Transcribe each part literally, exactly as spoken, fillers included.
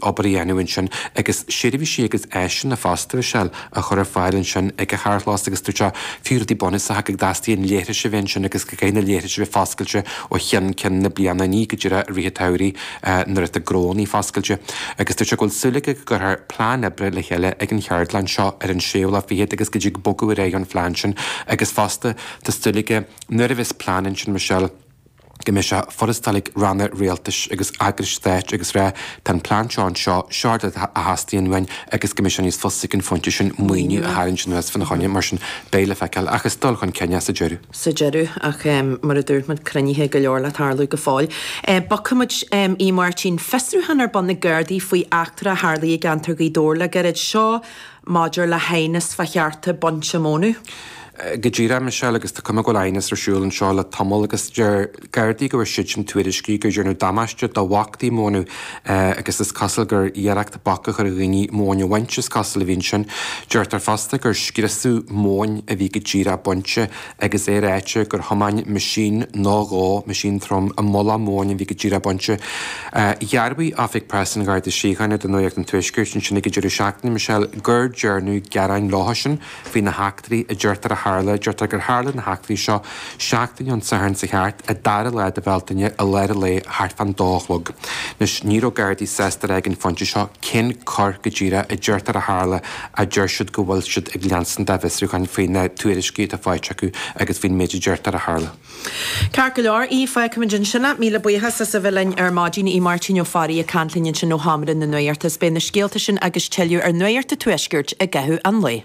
obair a dhéanamh ansin agus seirbhísí agus áiseanna fosta Michelle a chur ar fáil ansin ag an charrchlós agus dúirt sé fiú rudaí bunúsacha go dteastaíonn leithris a bheith ansin agus go gcaithfidh na leithris a bheith foscailte ó cheann ceann na bliana ní go díreach i rith an tsamhraidh nuair atá gnónna foscailte agus dúirt sé go bhfuil súil aige go gcuirfear plean oibre le chéile ag an cheardlann seo ar an séú lá fichead agus go dtig bogadh ar aghaidh an phlean sin agus fosta tá súil aige nuair a bheas plean ansin Michelle go mbeidh sé furasta ag ranna rialtais agus eagrais stáit agus rá tá an plean seo anseo, seo a theastaíonn uainn agus go mbeidh sé níos fusa ag an phointe sin maoiniú a tharraingt anuas fána choinne, mar sin beidh le feiceáil ach is dul chun cinn é sa deireadh. sa deireadh ach mar a dúirt muid cruinnithe go leor le tarlú go fóill. Bogfaidh muid a Mháirtín, fiosrúchán ar bun ag Gardaí faoi eachtra a tharlaigh i gceantar Ghaoth Dobhair le gairid. Seo maidir le haighneas fá chearta bainte mónadh. Go díreach, Michelle, agus tá cuma go bhfuil aighneas ar siúl anseo le tamall agus deir Gardaí go bhfuair siadsan tuairiscí gur déanadh damáiste do bhoscaí mónadh agus is cosúil gur iarracht bac a chur ar dhaoine móin a bhaint is cosúil a bhí ansin. Deirtear fosta gur scriosadh móin a bhí go díreach bainte agus é ráite gur thiomáin meaisín nó dhó, meaisín trom, i mullach móin a bhí go díreach bainte. Dhearbhaigh Oifig Preasa an Gharda Síochána do Nuacht an Tuaiscirt ansin ag an deireadh seachtaine, Michelle, gur dearnadh gearáin leosan faoi na heachtraí a deirtear a tharla. Deirtear gur tharla na heachtraí seo seachtain ón Satharn seo thart, an dara lá de Bhealtaine, i lár an lae, thart fán dó a chlog. Anois, ní raibh Gardaí sásta a rá ag an phointe seo cén coir go díreach a deirtear a tharla ach deir siad go bhfuil siad ag leanstan dá bhfiosrúchán faoi na tuairiscí atá faighte acu agus faoin méid a deirtear a tharla. Ceart go leor, í, fágfaimid ansin é. Míle buíochas as a bheith linn ar maidin, í Máirtín Ó Fearraigh ag caint linn ansin ó Sheomra na Nuachta. Is beidh na scéalta sin agus tuilleadh ar Nuacht an Tuaiscirt i gcaitheamh an lae.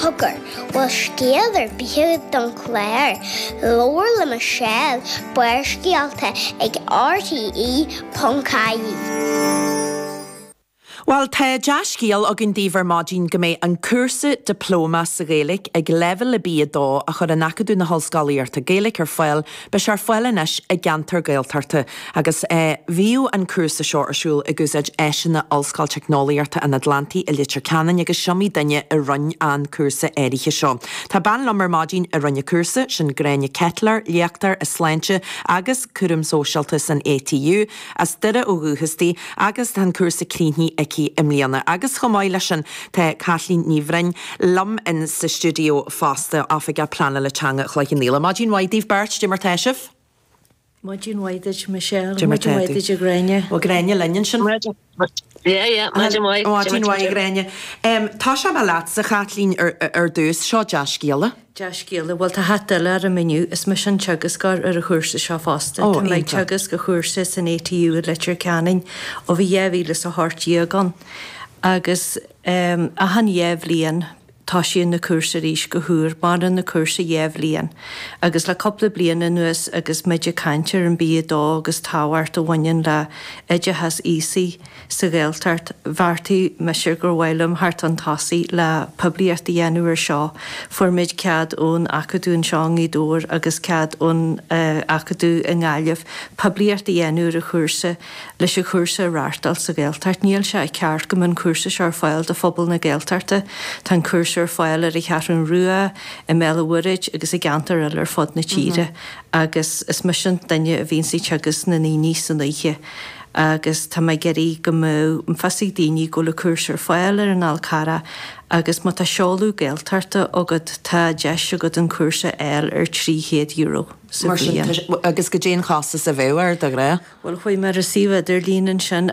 Cogar, bhfuil scéal ar bith agat don chlár? Labhair le Michelle, Barrscéalta ag RTE ponc ie. Bhuel, tá dea-scéal againn daoibh ar maidin go mbeidh an cúrsa Dioplóma sa Ghaeilge ag leibhéal B a dó a chuireann Acadamh na hOllscolaíochta Gaeilge ar fáil, beidh sé ar fáil anois i gceantar Gaeltachta agus bhíodh an cúrsa seo ar siúl ag úsáid áiseanna Ollscoil Teicneolaíochta an Atlantaigh i Leitir Ceanainn agus is iomaí duine a rinne an cúrsa áirithe seo. Tá bean liom ar maidin a rinne an cúrsa, sin Gráinne Ketelaar, léachtóir i Sláinte agus Cúram Sóisialta san ATU, as Doire ó dhúchas di agus tá an cúrsa críochnaithe aici i mbliana. Agus chomh maith leis sin tá Caitlín Ní Bhroin liom in sa stiúideo fosta, Oifigeach Pleanála Teanga Chloich Cheann Fhaola. Maidin mhaith daoibh beirt, cad é mar tá sibh? Maidin mhaith duit Michelle, Cad é mar maidin tá mhaith tú? duit a Ghráinne. Bhfuil Gráinne linn ansin? Yeah, yeah, maidin mhaith. Maidin mhaith a Ghráinne. Tosóidh mé leatsa, Chaitlín, ar ar dtús. Seo dea-scéala. Dea-scéala. Bhuel, tá hata eile orm inniu. Is mise an teagascóir ar an chúrsa seo fosta. Ó, Tá mé ag iontach. teagasc an chúrsa san ATU i Leitir Ceanainn ó bhí dhá mhíle is a hocht déag ann. Agus um, achan dhá bhliain toisíonn na cúrsa arís go huair, maireann na cúrsa dhá bhliain. Agus le cúpla bliain anuas agus muid ag caint ar an B a dó agus tábhacht a bhaineann le oideachas aosaigh sa Ghaeltacht, bheartaigh mise gur mhaith liom theacht chun tosaigh le poiblíocht a dhéanamh ar seo. Fuair muid cead ón Acadamh anseo i nGaoth Dobhair agus cead ón uh, Acadamh i nGaillimh poiblíocht a dhéanamh ar an chúrsa leis an chúrsa a reáchtáil sa Ghaeltacht. Níl sé ceart go mbeadh an cúrsa seo ar fáil do phobal na Gaeltachta. Tá an cúrsa ar fáil ar an Cheathrú Rua, i mBéal an Mhuirthead agus i gceantair eile ar fud na tíre. agus is mise an duine a bhíonn ag teagasc na ndaoine san oíche. agus tá mé ag iarraidh go mbeadh an fios ag daoine go bhfuil an cúrsa ar fáil ar an Fhál Carrach agus má tá seoladh Gaeltachta agat tá deis agat an cúrsa a fháil ar trí chéad euro sa Mar sin bhliain. tá- agus cad é an costas a bheadh air de ghnáth. Bhuel chuaigh mé ar an suíomh idirlín ansin